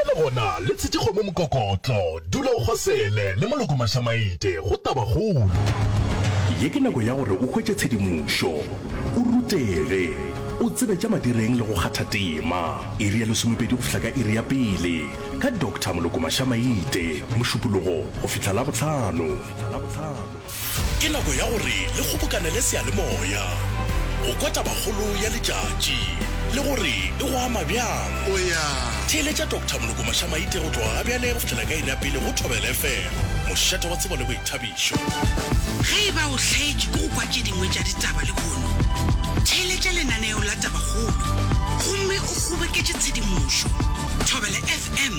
Bjale gona le tshetše kgomo mokokotlo, dula o kgosele le Moloko Mašamaite go Tabakgolo. Ye ke nako ya gore o hwetše tshedimošo, o rutege, o tsebe tša madireng le go kgatha tema. Iri ya lesomepedi go fihla ka iri ya pele ka Doctor Moloko Mašamaite, Mošupologo go fihla Labohlano. Ke nako ya gore le kgobokanele seyalemoya go kwa tabakgolo ya letšatši le gore e go ama bjang. Theeletša Doctor Moloko Mašamaite go tloga ga bjale go fihlela ka iri ya pele go Thobela FM, mošate wa tsebo le boithabišo. Ge e ba o hlaetšwe ke go kwa tše dingwe tša ditaba lehono, theeletša lenaneo la Tabakgolo gomme o kgoboketše tshedimošo. Thobela FM,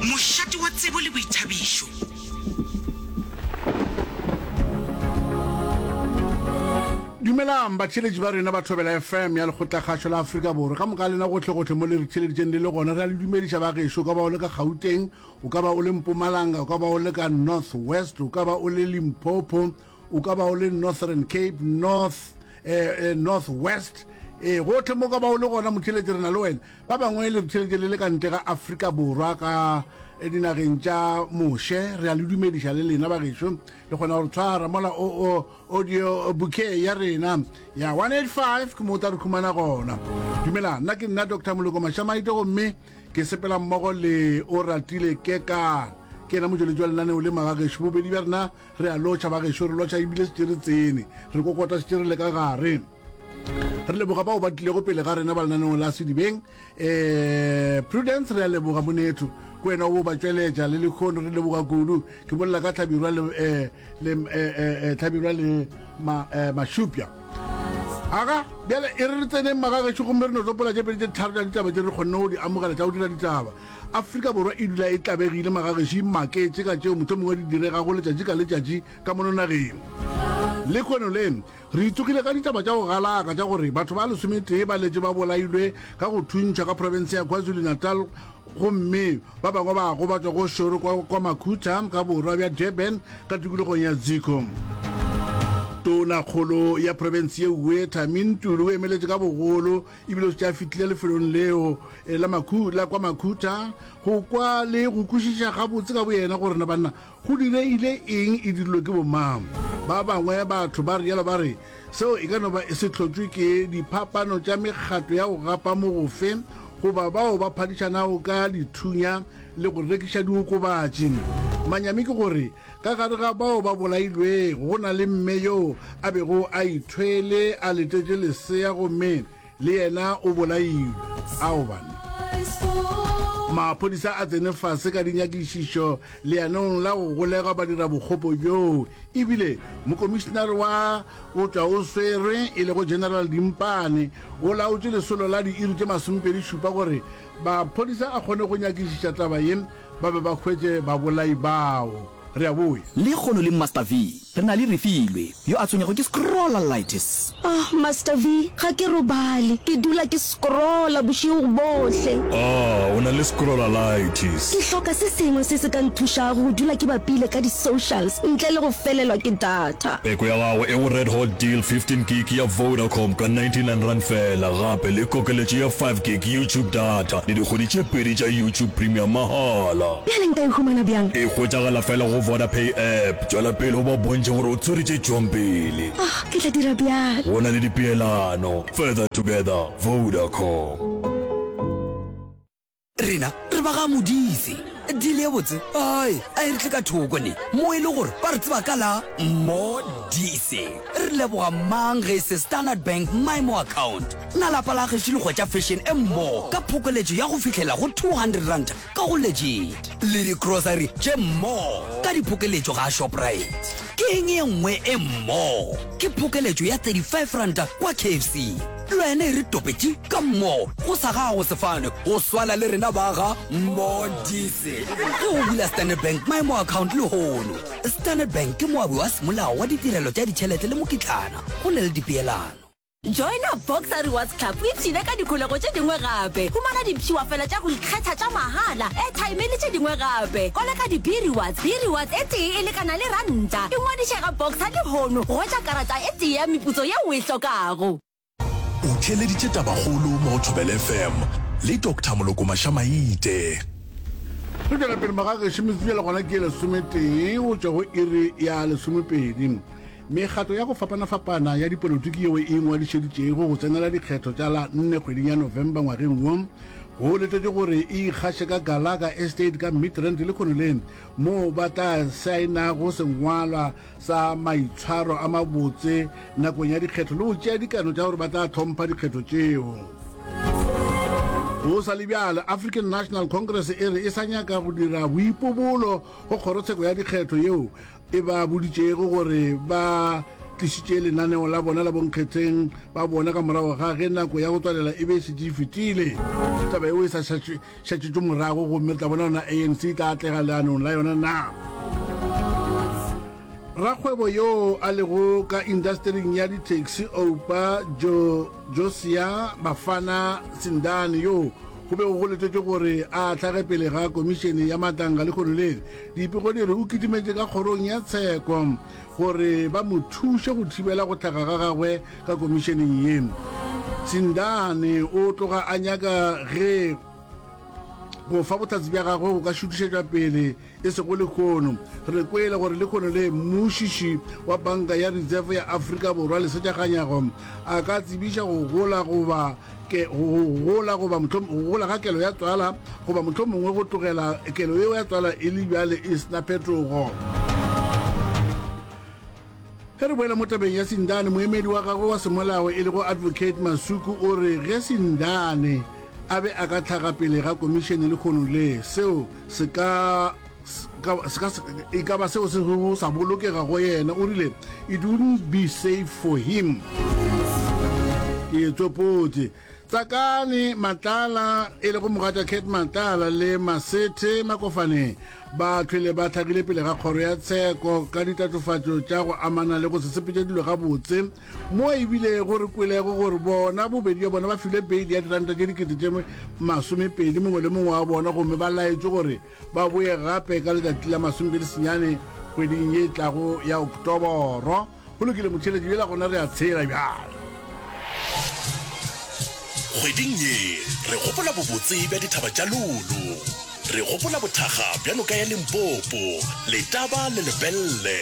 mošate wa tsebo le boithabišo. Dumelang batheeletši ba rena ba Thobela FM ya Lekgotlakgašo la Afrika Borwa. Ka moka lena gohlegohle mo le re theeleditšeng le le gona, re a le dumediša ba gešo. O ka ba o le ka Gauteng, o ka ba o le Mpumalanga, o ka ba o le ka North West, o ka ba o le Limpopo, o ka ba o le Northern Cape, North, eh, eh, North West. Ee, gohle mo ka ba o le gona motheeletši re na le wena. Ba bangwe le re theeletše le le ka ntle ga Afrika Borwa ka dinageng tša moše. Re a le dumediša le lena bagešo. Le kgona go re tshwara mola o, o, audio bouquet ya rena ya 185 ke mo o tla re khumana gona. Dumela, nna ke nna Doctor Moloko Mašamaite gomme ke sepela mmogo le Oratile Kekana. Ke yena motšweletši wa lenaneo le magagešo. Bobedi bja rena re a lotšha bagešo, re lotšha ebile šetše re tsene, re kokota šetše re le ka gare. Re leboga bao ba tlilego pele ga rena ba lenaneong la Sedibeng. Eh, Prudence re a leboga monetho. Ke wena o bo ba tšweletša le lekgono re leboga kudu. Ke bolela ka Hlabirwa le eh, le eh, eh, eh, Hlabirwa le ma, eh, Mašupja. Aga, bjale e re re tseneng magagešo gomme re no tsopola tše pedi tše tharo tša ditaba tše re kgonne go di amogela tša go dira ditaba. Afrika Borwa e dula e tlabegile magagešo e maketše ka tšeo mohlomongwe di diregago letšatši ka letšatši ka mono nageng. Lekgono le Re itsogile ka ditaba tša go galaka tša gore batho ba lesometee ba letše ba bolailwe ka go thuntšhwa ka profense ya KwaZulu-Natal gomme ba bangwe ba gobatšwa go šoro kwa KwaMakhutha ka borwa bja Durban ka tikologong ya Ziko. Tonakgolo ya profense ye Uwe Thami Ntuli o emeletše ka bogolo ebile o šetše a fihlile lefelong leo eh, la Makhu, la KwaMakhutha go kwa le go kwešiša gabotse ka boyena gore na banna Go diregile eng? E dirilwe ke bomang? Ba bangwe batho ba realo ba re seo e ka no ba se hlotšwe ke diphapano tša mekgatlo ya go gapa mogofe goba bao ba phadišanago ka dithunya le go rekiša diokobatši. Manyami ke gore ka gare ga bao ba bolailwego go na le mme yoo a bego a ithwele a letetše lesea gomme Le yena o bolailwe. Ao banna. Maphodisa a tsene fase ka dinyakišišo leanong la go golega badirabokgopo bjoo ebile mokomišenare wa go tšwa o swerwe e lego General Dimpane o laotše lesolo la diiri tše masomepedi-šupa gore maphodisa a kgone go nyakišiša taba ye ba be ba hwetše babolai bao. Re a boya. Lekgono le Master V. Re na le Refilwe, yo a tshwenyago ke scrollalitis. Ah, Master V, ga ke robale. Ke dula ke scrolla bošego bohle. Ah, o na le scrollalitis. Ke hloka se sengwe se se ka nthušago go dula ke bapile ka di-socials ntle le go felelwa ke data. Peko ya gago e go Red Hot Deal 15 gig ya Vodacom ka R99 feela, gape le kokeletšo ya 5 gig YouTube data le dikgwedi tše pedi tša YouTube Premium mahala. Bjale nka e humana bjang? E hwetšagala fela go Vodapay app. Tšwela pele o ba bontšhe gore o tshwere tše tšwang pele. Ah, ke tla dira bjalo. Go na le dipeelano. Further together, Vodacom. Rena re ba ga Modise. Deal ye botse ai a e re tle ka thoko ne mo e le gore ba re tseba ka la Modise. Re leboga mang ge e se Standard Bank MyMo account. Na lapa la gešo le hwetša fashion e mmo ka phokoletšo ya go fihlela go R200 ka go Legit le di-grocery tše mmo ka diphokeletšo ga Shoprite. Ke eng ye nngwe e mmo? Ke phokeletšo ya R35 kwa KFC. Le wena e re topetše ka mmo go sa gago sefane go swana le rena ba ga Modise. Ge o bula Standard Bank Maemo Account lehono, Standard Bank ke moabi wa semolao wa ditirelo tša ditšhelete le mokitlana go na le dipeelano. Joina Boxer Rewards Club o ipshine ka dikholego tše dingwe gape. Humana dipshiwafela tša go ikgetha tša mahala, airtime le tše dingwe gape. Koleka di-B-Rewards. B-Rewards e tee e lekana le ranta. Ingwadiše ga Boxer lehono go hwetša karata e tee ya meputso yeo o e hlokago. O theeleditše Tabakgolo mo go Thobela FM le Doctor Moloko Mašamaite. Re tšwela pele magagešo metsotso le gona ke lesometee go tšwa go iri ya lesomepedi. Mekgatlo ya go fapana-fapana ya dipolotiki yeo e ingwadišeditšego go tsenela dikgetho tša la nne kgweding ya November ngwageng wo, go letetšwe gore e ikgaše ka Gallagher Estate ka Midrand lehono le, moo ba tla saenago sengwalwa sa maitshwaro a mabotse nakong ya dikgetho le go tšea dikano tša gore ba tla hlompha dikgetho tšeo. Go sa le bjalo, African National Congress e re e sa nyaka go dira boipobolo go kgorotsheko ya dikgetho yeo e ba boditšego gore ba tlišitše lenaneo la bona la bonkgetheng ba bona ka morago ga ge nako ya go tswalela e be e šetše e fetile. Taba yeo e sa šetšetšwe morago gomme re tla bona gona ANC e tla atlega leanong la yona na. Rakgwebo yoo a lego ka indastering ya di-taxi Oupa Jo Josia Bafana Sindane yoo go bego go letetšwe gore a hlage pele ga komišene ya Matanga lehono le, dipego di re o kitimetše ka kgorong ya tsheko gore ba mo thuše go thibela go hlaga ga gagwe ka komišeneng ye. Sindane o tloga a nyaka ge go fa bohlatse bja gagwe go ka šutišetšwa pele e sego lehono. Re kwele gore lehono le mmušiši wa Banka ya Reserve ya Afrika Borwa Lesetša Kganyago a ka tsebiša go gola goba ke go gola goba go gola ga kelo ya tswala goba mohlomongwe go tlogela kelo yeo ya tswala e le bjale e se na phetogo. Ge re boela mo tabeng ya Sindane, moemedi wa gagwe wa semolao e lego Advocate Masuku o re ge Sindane a be a ka hlaga pele ga komišene lehono le, seo se ka e ka ba seo se sego sa bolokega go yena. O rile, It wouldn't be safe for him. Ke tsopotše. Tsakani Matlala, e lego mogatša Cat Matlala le Masethe Makofane ba hlwele ba hlagile pele ga kgoro ya tsheko ka ditatofatšo tša go amana le go se sepetše dilo gabotse mo e bilego re kwelego gore bona bobedi bja bona ba filwe beili ya diranta tše dikete tše masomepedi mongwe le mongwe wa bona gomme ba laetšwe gore ba boye gape ka letšatši la masomepedi senyane kgweding ye e tlago ya Oktoboro. Go lokile motheeletši bjela gona re a tshela bjale. Kgweding ye re gopola bobotse bja dithaba tša Lulu. Re gopola bothakga bja noka ya Limpopo, Letaba le Lepelle.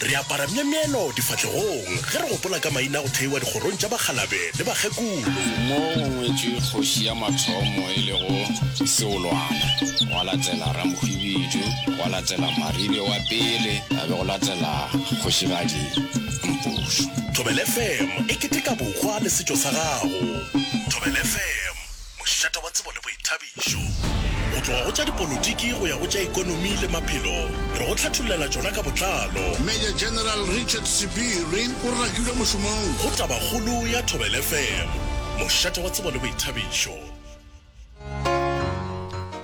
Re apara myemyelo difahlegong ge re gopola ka maina a go theiwa dikgorong tša bakgalabe le bakgekolo. Mo go ngwetšwe kgoši ya mathomo e lego Seolwana, gwa latela Ramohwibidu, gwa latela Maribe wa pele, a be go latela Kgošigadi Mpušo. Thobela FM e keteka bohwa le setšo sa gago. Thobela FM, mošate wa tsebo le boithabišo. Go tloga go tša dipolotiki go ya go tša ekonomi le maphelo, re go hlathollela tšona ka botlalo. Major General Richard Sebiri o rakilwe mošomong. Go Tabakgolo ya Thobela FM, mošate wa tsebo le boithabišo.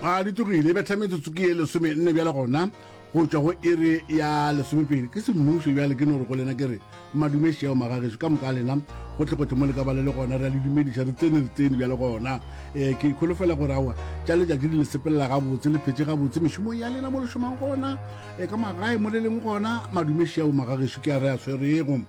A di tlogile, e betha metsotso ke ye lesomenne bjale gona go tšwa go iri ya lesomepedi. Ke semmušo bjale ke no re go lena ke re madume šeo magagešo ka moka a lena gohlegohle mo le ka ba le le gona, re a le dumediša, re tsene re tsene bjale gona. Um ke kholofela gore aowa tša letšatši di le sepelela gabotse, le phetše gabotse mešomong ya lena mo le šomang gona, um ka magae mo le leng gona. Madume šeo magagešo ke a re a swerego.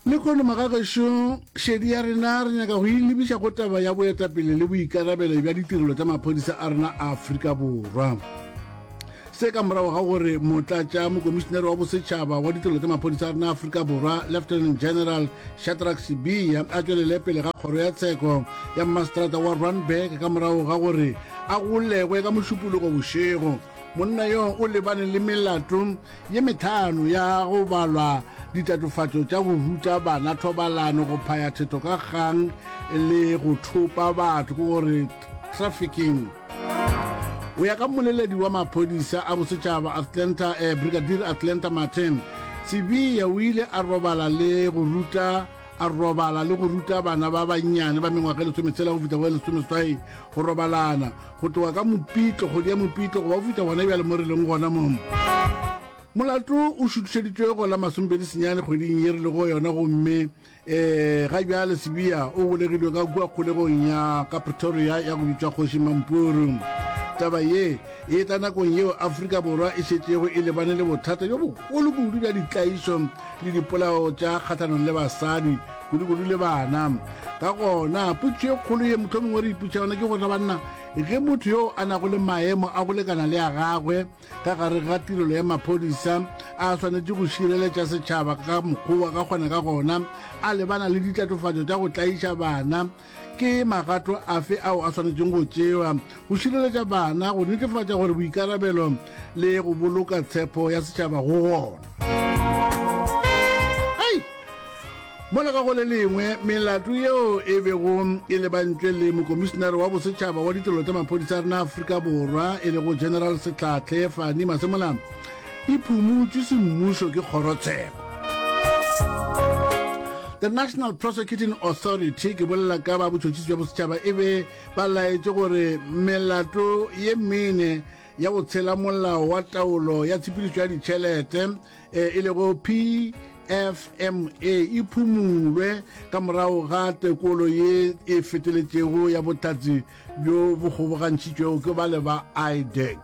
Lehono magagešo, šedi ya rena re nyaka go e lebiša go taba ya boetapele le boikarabelo bja ditirelo tša maphodisa a rena a Afrika Borwa. Se ka morago ga gore motlatša mokomišenere wa bosetšhaba wa ditirelo tša maphodisa a rena a Afrika Borwa, Lieutenant General Shadrack Sibiya, a tšwelele pele ga kgoro ya tsheko ya mmaseterata wa Randburg ka morago ga gore a golegwe ka Mošupologo bošego. Monna yo o lebane le melato ye metlhano ya go balwa ditatofatšo tša go ruta bana thobalano, go phaya thetho ka kgang le go thopa batho, ke gore trafficking. Go ya ka mmoleledi wa maphodisa a bosetšhaba Atlanta, eh, Brigadier Atlanta Martin, Sibiya o ile a robala le go ruta a robala le go ruta bana ba bannyane ba mengwaga e lesometshela go fihla go e lesomeswai go robalana go tloga ka Mopitlo, kgwedi ya Mopitlo go ba go fihla gona bjale mo re leng gona mo. Molato o šuthišeditšwe go la masomepedi senyane kgweding ye re lego yona gomme um ga bjale Sibiya o golegilwe ka kua kgolegong ya ka Pretoria ya go bitšwa Kgoši Mampuru. Taba ye e tla nakong yeo Afrika Borwa e šetšego e lebane le bothata bjo bogolo kudu bja ditlaišo le dipolao tša kgahlanong le basadi, kudu-kudu le bana. Ka gona, potšišo e kgolo ye mohlomongwe re ipotšiša yona ke gore, Na banna? Ge motho yo a nago le maemo a go lekana le a gagwe ka gare ga tirelo ya maphodisa a swanetše go šireletša setšhaba ka mokgwa ka kgona ka gona a lebana le ditatofatšo tša go tlaiša bana, ke magato afe ao a swanetšeng go tšewa go šireletša bana, go netefatša gore boikarabelo le go boloka tshepo ya setšhaba go gona? Hei! Mola ka go le lengwe, melato yeo e bego e lebantšwe le Mokomišenare wa Bosetšhaba wa Ditirelo tša Maphodisa a rena Afrika Borwa e lego General Sehlahle Fani Masemola e phumutšwe semmušo ke kgorotsheko. The National Prosecuting Authority, ke bolela ka ba botšhotšhisi bja bosetšhaba, e be ba laetše gore melato ye mene ya go tshela molao wa taolo ya tshepedišo ya ditšhelete e lego PFMA e phumulwe ka morago ga tekolo ye e feteletšego ya bohlatse bjo bo kgobokantšhitšwego ke bale ba IDAC.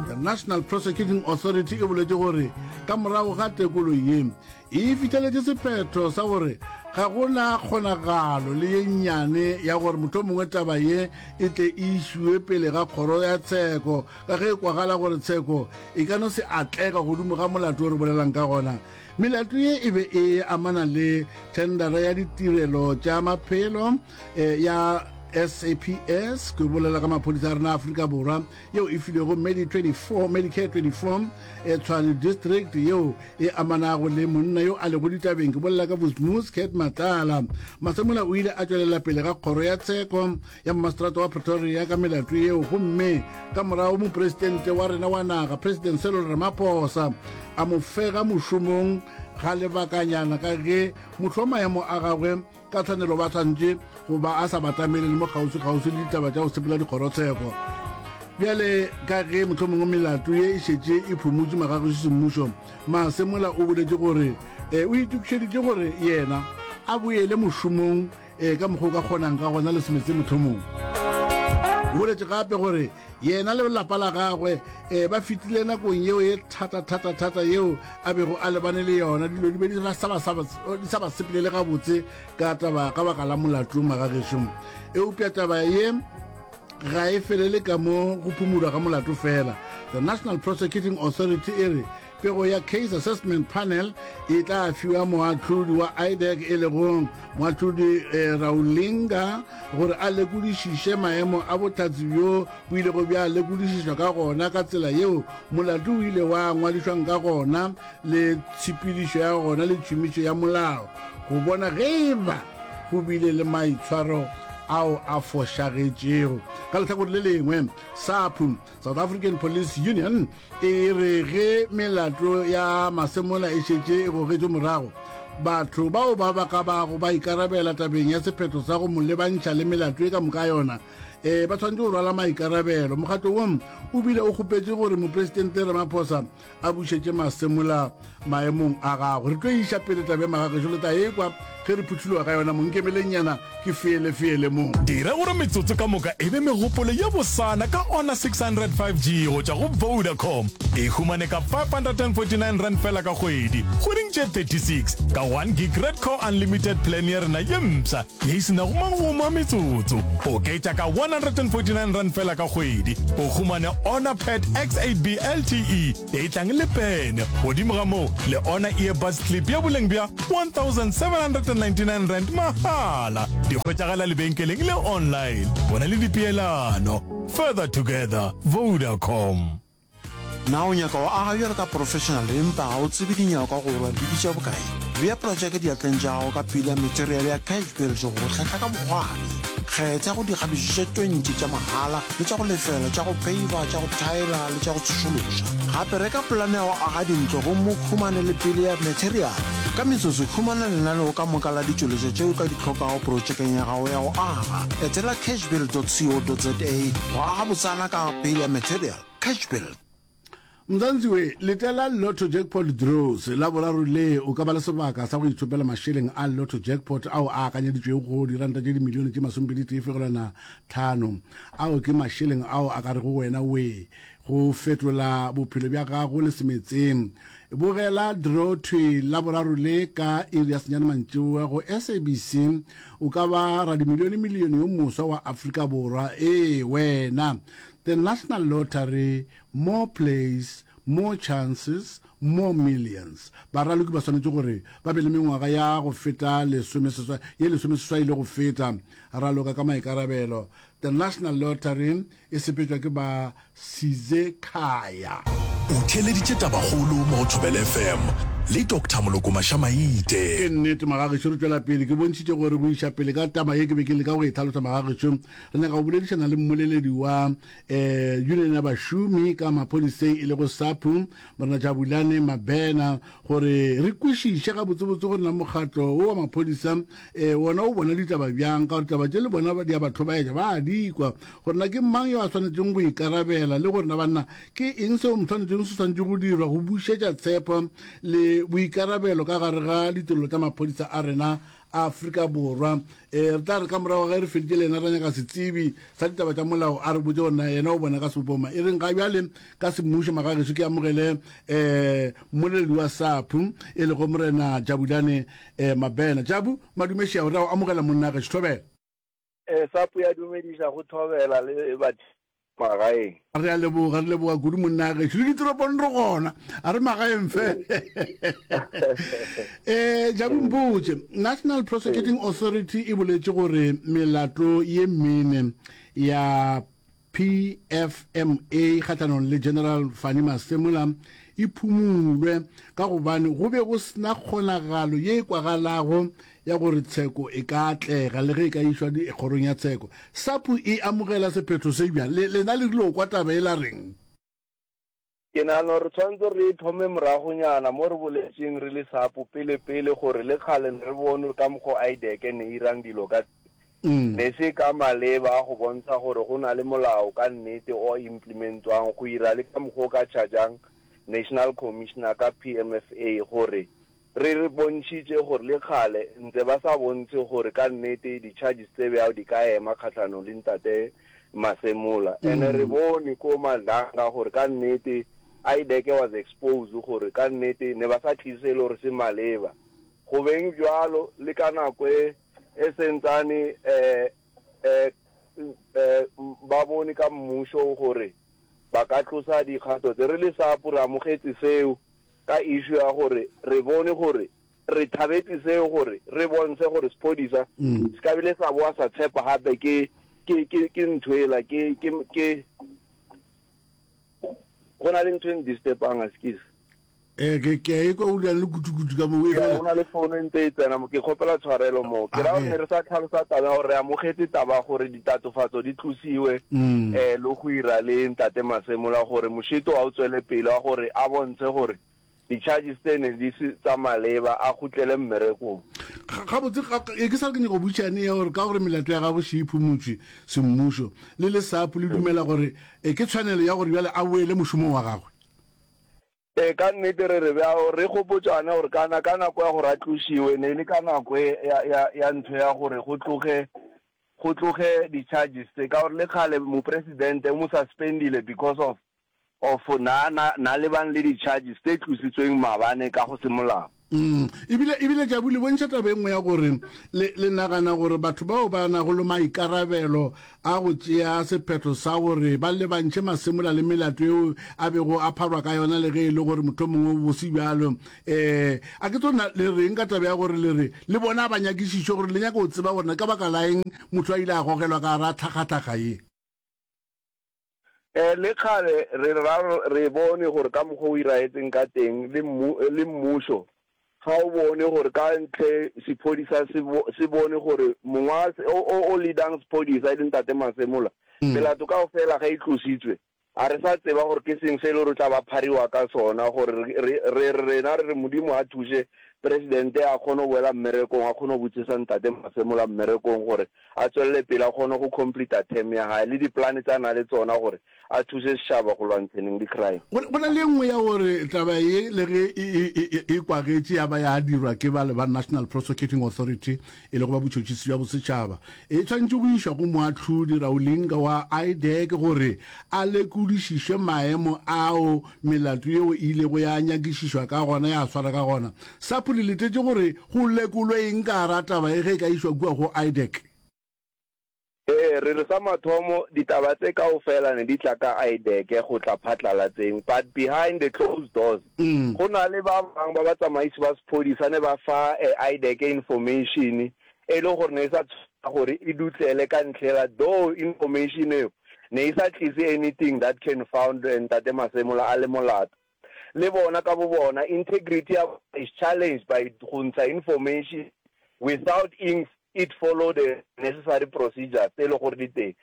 The National Prosecuting Authority e boletše gore ka morago ga tekolo ye e fihleletše sephetho sa gore ga go na kgonagalo le ye nnyane ya gore mohlomongwe taba ye e tle e išiwe pele ga kgoro ya tsheko Ka ge e kwagala gore tsheko e ka no se atlega godimo ga molato o re bolelang ka gona, melato ye e be e amana le thendara ya ditirelo tša maphelo eh, ya SAPS, ke bolela ka maphodisa a rena Afrika Borwa, yeo e filwego Medi 24, Medicare 24, eh, Tshwane District, yeo e amanago le monna yo a lego ditabeng, ke bolela ka Vusmus Cat Matlala. Masemola o ile a tšwelela pele ga kgoro ya tsheko ya mmaseterata wa Pretoria ka melato yeo gomme ka morago mopresidente wa rena wa naga President Cyril Ramaphosa a mo fega mošomong ga lebakanyana ka ge mohlo maemo a gagwe ka tshwanelo ba tshwanetše go ba a sa batamele le mo kgauswi-kgauswi le ditaba tša go sepela dikgorotsheko. Bjale ka ge mohlomongwe melato ye e šetše e phumotše magagešu semmušo, Masemola o boletše gore e, o itokišeditše gore yena a boele mošomong Ee, ka mokgwa o ka kgonang ka gona le semetse mohlomong. O boletše gape gore yena le lapa la gagwe um ba fetile nakong yeo ye thata-thata-thata yeo a bego a lebane le yona. Dilo di be di sa ba sepelele gabotse ka taba ka baka la molato magagešo. Eupša taba ye ga e felele ka mo go phumulwa ga molato fela. The National Prosecuting Authority e re Pego ya Case Assessment Panel e tla fiwa moahlodi wa IDAC e lego moahlodi eh, Raulinga gore a lekodišiše maemo a bohlatse bjo bo ilego bja lekodišišwa ka gona ka tsela yeo molato o ile wa ngwadišwang ka gona le tshepedišo ya gona le tšhomišo ya molao go bona ge e ba go bile le maitshwaro ao a fošagetšego. Ka lehlakore le lengwe, SAPU, South African Police Union, E re ge melato ya Masemola e šetše e gogetšwe morago, batho bao ba ba ka bago ba ikarabela tabeng ya sephetho sa go mo lebantšha le melato e ka moka yona e ba tshwanetše go rwala maikarabelo. Mokgatlo wo o bile o kgopetše gore Mopresidente Ramaphosa a bušetše Masemola maemong a gagwe. Re tlo iša pele taba ya magagešo le tla ekwa ge re phuthuloga ka yona mo. Nkemelengnyana ke feele feele mo. Dira gore metsotso ka moka e be megopolo ye bosana ka Honor 600 5G go tšwa go Vodacom. E humane ka R549 feela ka kgwedi, kgweding tše 36, ka 1 gig Redcore Unlimited plan ya rena ye mpsha ye e se nago magomo a metsotso. Oketša ka R149 feela ka kgwedi, o humane Honor Pad X8B LTE E tlang le pene. Godimo ga moo, le ona earbuds clip ya boleng bja R1,799 mahala. Di hwetšagala lebenkeleng le online. Bona le dipeelano. Further together, Vodacom. Na o nyaka go aga bjalo ka professional empa ga o tsebe dinyakwa gore di bitša bokae? Bea projeke diatleng tša gago ka pila material ya Cash Build go go hlahla ka bokgwari. Kgetha go dikgabišo tše 20 tša mahala le tša go lefela, tša go peiva, tša go thaela le tša go tsošološa. Gape reka polane ya go aga dintlo gomme o humane le pele ya materiale. Ka metsotso, humana lenaneo ka moka la ditšweletšwa tše o ka di hlokago protšekeng ya gago ya go aga. Etela cashbuild.co.za go aga botsana ka pele ya material. Cashbuild. Mzansi we, letela Lotto Jackpot Draws Laboraro le, o ka ba le sebaka sa go ithopela mašeleng a Lotto Jackpot ao a akanyeditšwego go diranta tše dimilione tše masomepeditee fegelwana tlhano. Ao ke mašeleng ao a ka rego wena we go fetola bophelo bja gago le semetseng. Bogela draw thwi Laboraro le ka iri ya senyane mantšiboa go SABC. O ka ba radimilione-milione yo moswa wa Afrika Borwa. Ee, wena! The National Lottery More plays, more chances, more millions. Baraloki ba swanetše gore ba be le mengwaga ya go feta lesomeseswai, ye lesomeseswai le go feta. Raloka ka maikarabelo. The National Lottery e sepetšwa ke ba Sizekhaya. O theeleditše Tabakgolo mo go Thobela FM le Doctor Moloko Mashamaite. Ke nnete magagešo, re tšwela pele. Ke bontšhitše gore go iša pele ka taba ye ke be ke leka go e hlalosa magagešo. Re nyaka go boledišana le mmoleledi wa eh, union ya bašomi ka maphodiseng e lego SAPU, Morena Jabulani Mabena, gore re kwešiše gabotsebotse gore na mokgatlo wo wa maphodisa eh, wona o bona ditaba bjang, ka gore taba tše le bona di a ba hlobaetša, ba a di kwa, gore na ke mang yo a swanetšeng go ikarabela le gore na banna ke eng seo swanetšeng se swanetše go dirwa go bušetša tshepo le boikarabelo ka gare ga ditirelo tša maphodisa a rena Afrika Borwa. E, re tla re ka morago ge re feditše le yena ra nyaka setsebi sa ditaba tša molao a re botse gore na yena o bona ka sebopoma e reng. Ga bjale ka semmušo magagešo ke amogele um mmoleledi wa SAPU e lego Morena Jabulane um Mabena. Jabu, madumešego, re a o amogela monna gešo. Thobela. E, SAPU ya dumediša go thobela le batho magaeng. Re a leboga, re leboga kudu monna gešo. Le ditoropong re gona, a re magaeng fela. Eh, Jabu mpotše, National Prosecuting Authority e boletše gore melato ye mene ya PFMA kgahlanong le General Fannie Masemola e phumulwe ka gobane go be go sena kgonagalo ye e kwagalago ya gore tsheko e ka atlega le ge e ka išwa kgorong ya tsheko. SAPU e amogela sephetho se bjang? Le, lena le rile go kwa taba e la reng? Ke nagana gore re tshwanetse re e thome moragonyana mo re boletšeng re le SAPU pele pele gore le kgale ne re bone gore ka mokgo IDAC ne e irang dilo ka teng ne se ka maleba go bontsha gore go na le molao ka nnete o implementwang go ira le ka mokgo o ka chargeang National Commissioner ka PMFA gore Re re bontšhitše gore le kgale ntse ba sa bontshe gore ka nnete di charges tse bjao di ka ema kgahlanong le ntate Masemola. Ene re bone ko Madlanga gore ka nnete IDAC was exposed gore ka nnete ne ba sa tlise se e le gore se maleba. Go beng bjalo le ka nako e e sentsane um ba bone ka mmušo gore ba ka tlosa dikgato tse. Re le SAPU re amogetše seo. Ka issue ya gore re bone gore re thabetše seo gore re bontshe gore sephodisa se ka bile sa boa sa tshepa gape ke ke ke ke ntho ela ke ke ke go na le ntho e ndisturbang askies. Eh, ke ke a ekwa o dira le kutu-kutu ka moo e fela. Go na le fono e ntse e tsena mo, ke kgopela tshwarelo mo. Ke ra gore ne re sa tlhalosa taba ya gore re amogetse taba ya gore ditatofatso di tlosiwe um le go ira le Ntate Masemola gore mošito a o tswele pele wa gore a bontshe gore di-charges tse ne di se tsa maleba a kgutlele mmerekong. Gabotse e ke sa re ke nyaka go botšišane ya gore ka gore melato ya gagwe še e phumotšwe semmušo le le SAPU le dumela gore e ke tshwanelo ya gore bjale a boele mošomong wa gagwe? Ee, ka nnete re re bjao, re gopotšane gore kana ka nako ya gore a tlošiwe ne e le ka nako e ya, ya, ya ntho ya gore go tloge, go tloge di-charges tse, ka gore le kgale mopresidente o mo suspendile because of, of na, na, na lebang le di-charges tse tlositsweng maabane ka go se molao. Mm. Ebile, ebile Jabu, le bontšha taba e nngwe ya gore le, le nagana gore batho bao ba nago le maikarabelo a go tšea sephetho sa gore ba lebantšhe masemola le melato yeo a bego a pharwa ka yona le ge e le gore mohlomongwe bo se bjalo. Um a ke tlo na le reng ka taba ya gore le re le bona a ba nyakišišwe gore le nyaka go tseba gore na ka baka la eng motho a ile a gogelwa ka gara tlhakatlhaka ye? Eh, le kgale re ra re bone gore ka mokgwa o iraetseng ka teng le mmu, le mmušo ga o bone gore ka ntle sephodisa se, se bone gore mongwa o, o, o leadang sephodisa e le Ntate Masemola, melato kaofela ge e tlositswe, a re sa tseba gore ke seng se e le gore o tla ba phariwa ka sona, gore re, re, re re rena re re Modimo a thuše. Presidente a kgone go boela mmerekong, a kgone go butšesa Ntate Masemola mmerekong gore a tswelele pele a kgone go completa term ya hae le di-plan tsa na le tsona gore a thuse setšhaba go lwantsheneng le crime. Go na le e nngwe ya gore taba ye le ge e, e, e, e kwagetše ya ba ya dirwa ke bale ba National Prosecuting Authority e lego ba botšhotšhisi bja bosetšhaba, e tshwanetše go išwa go moahlodi Raulinga wa IDAC gore a lekodišišwe maemo ao melato yeo e ilego ya nyakišišwa ka gona ya swara ka gona. SAPO le letetše gore go lekolwe eng ka gara taba ye ge e ka išwa kua go IDAC? Ee, re re sa mathomo ditaba tse kaofela ne di tla ka IDAC go tla phatlalatseng but behind the closed doors go na le ba bang ba batsamaisi ba sephodisa ne ba fa IDAC information e le gore ne e sa tshwanela gore e dutlele ka ntlhela though information eo ne e sa tlise anything that can found Ntate Masemola a le molato. Le bona ka bo bona integrity ya bona is challenged by go ntsha information without ing it follow the necessary procedures tse e le gore di teng.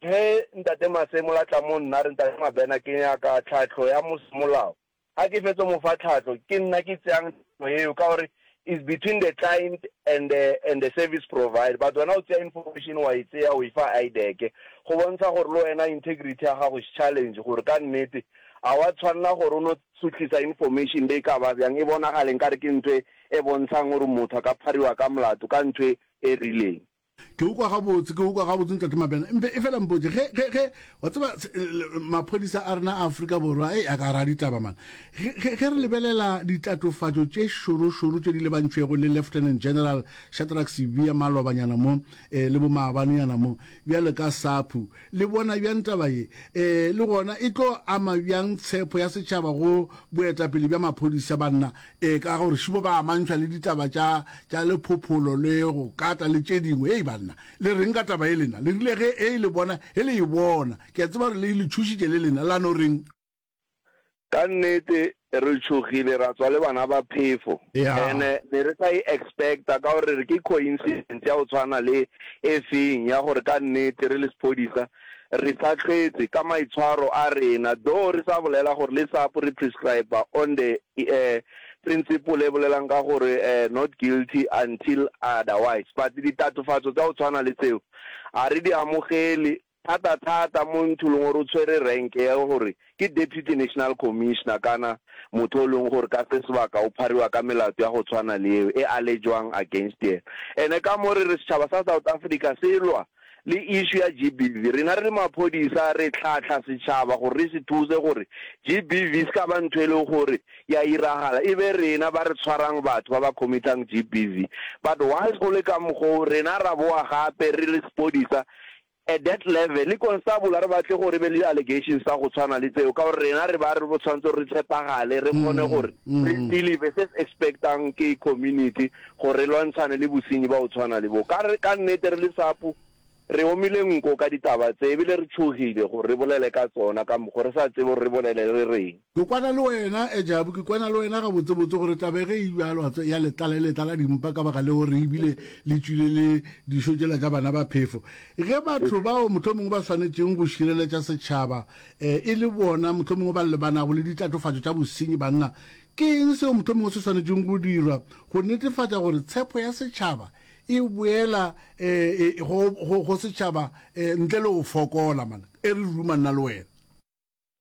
Ge Ntate Masemola a tla mo nna a re Ntate Mabena ke nyaka tlhahlo ya molao, ga ke fetso mo fa tlhahlo ke nna ke tseyang tlhahlo eo ka gore is between the client and the, and the service provider but wena o tseya information wa e tseya o e fa IDAC go bontsha gore le wena integrity ya gago is challenge gore ka nnete a wa tshwanela gore o no sutlisa information le e ka ba bjang e bonagale nkare ke ntho e bontshang gore motho a ka phariwa ka molato ka ntho e rileng. Ke o kwa gabotse, ke o kwa gabotse Ntate Mabena. Mpe e fela mpotše, ge, ge, ge, wa tseba, maphodisa a rena a Afrika Borwa, ei, a ka ra ditaba man. Ge, ge, ge re lebelela ditlatofatšo tše šorošoro tše di lebantšwego le Lieutenant General Shadrack Sibiya malobanyana mo, eh, le bomaabanenyana mo, bjalo ka SAPU, le bona bjang taba ye? Eh, le gona e tlo ama bjang tshepo ya setšhaba go boetapele bja maphodisa banna? Ee, ka gore šibo ba amantšhwa le ditaba tša, tša lephopholo le go kata le tše dingwe. Hei banna, le reng ka taba ye lena? Le rile ge e le bona, ge le e bona, ke a tseba gore le, le tšhošitše le lena, la no reng? Ka nnete re tšhogile ra tswa le bana ba phefo. Ya. And-e ne re sa e expect-a ka gore re re ke coincidence ya go tshwana le e feng ya gore ka nnete re le sephodisa Re sa hlwetse ka maitshwaro a rena, though re sa bolela gore le SAPO re prescriber on the principle e bolelang ka gore not guilty until otherwise, but ditatofatso tsa go tshwana le tseo ga re di amogele thata thata mo ntho leng gore o tshwere rank ya gore ke Deputy National Commissioner kana motho o leng gore ka se sebaka o phariwa ka melato ya go tshwana le eo e allegwang against yena. Ene ka mo re re setšhaba sa South Africa se lwa le issue ya GBV. Rena re le maphodisa re hlahla setšhaba gore re se thuse gore GBV se ka ba ntho e leng gore ya iragala e be rena ba re tshwarang batho ba ba committang GBV. But whilst go le ka mokgo rena ra boa gape re le sepodisa at that level le constable a re batle gore e be le di-allegations tsa go tshwana le tseo ka gore rena re ba re tshwanetse gore re tshepagale re kgone gore re deliver se se expectang ke community gore re lwantshane le bosenyi ba go tshwana le bo. Ka re, ka nnete re le SAPU re omile nko ka ditaba tse ebile re tšhogile gore re bolele ka tsona ka mokgo re sa tsebe gore re bolele re reng. Ke kwana le wena, Ejabu, ke kwana le wena gabotsebotse gore taba ge e bjalo wa tseba ya le tlala e le tlala dimpa ka baka leo re ebile le tšwile le dišo tšela tša bana ba phefo. Ge batho bao mohlomongwe ba swanetšeng go šireletša setšhaba e le bona mohlomongwe ba lebanago le ditlatofatšo tša bosenyi banna, Ke eng seo mohlomongwe se swanetšego go dirwa go netefatša gore tshepo ya setšhaba e boela go, go, go setšhaba ntle le go fokola? Man, e re ruma nna le wena.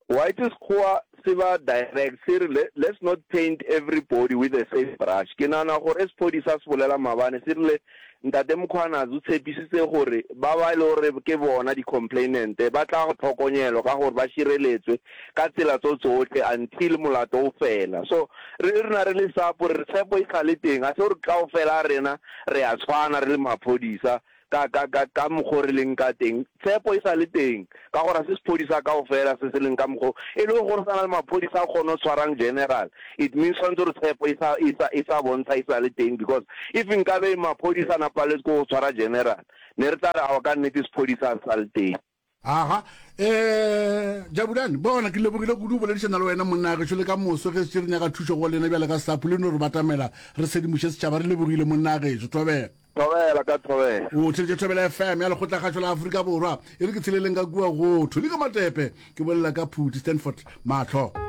White Sekgowa se ba direct se re let's not paint everybody with the same brush. Ke nahana gore sephodisa se bolela maabane se rile Ntate Mkhwanazi o tshepisitse gore ba ba e le gore ke bona di-complainant ba tla tlhokonyelwa ka gore ba šireletswe ka tsela tso tsohle until molato o fela. So re rena re le SAPO re re tshepo e sa le teng, ga se gore kaofela a rena re a tshwana re le maphodisa ka, ka, ka, ka mokgo re leng ka teng. Tshepo e sa le teng, ka gore ga se sephodisa kaofela se se leng ka mokgo. E le gore sa na le maphodisa a kgone go tshwarang general, it means tshwanetse gore tshepo e sa, e sa, e sa bontsha e sa le teng because if nkabe maphodisa a na paletswe ke go tshwara general, ne re tla re aowa ka nnete sephodisa ga se sa le teng. Aha, eh, Jabulani, bona, ke lebogile kudu go boledišana le wena monna gešo le ka moso ge se re nyaka thušo go lena bjale ka SAPU le no re batamela re sedimoše setšhaba. Re lebogile monna gešo. Thobela. Thobela ka thobela. O theletše Thobela FM ya Lekgotlakgašo la Afrika Borwa. E re ke tsheleleng ka kua go Thuli ka Matepe ke bolela ka Phuti Stanford Mahlo.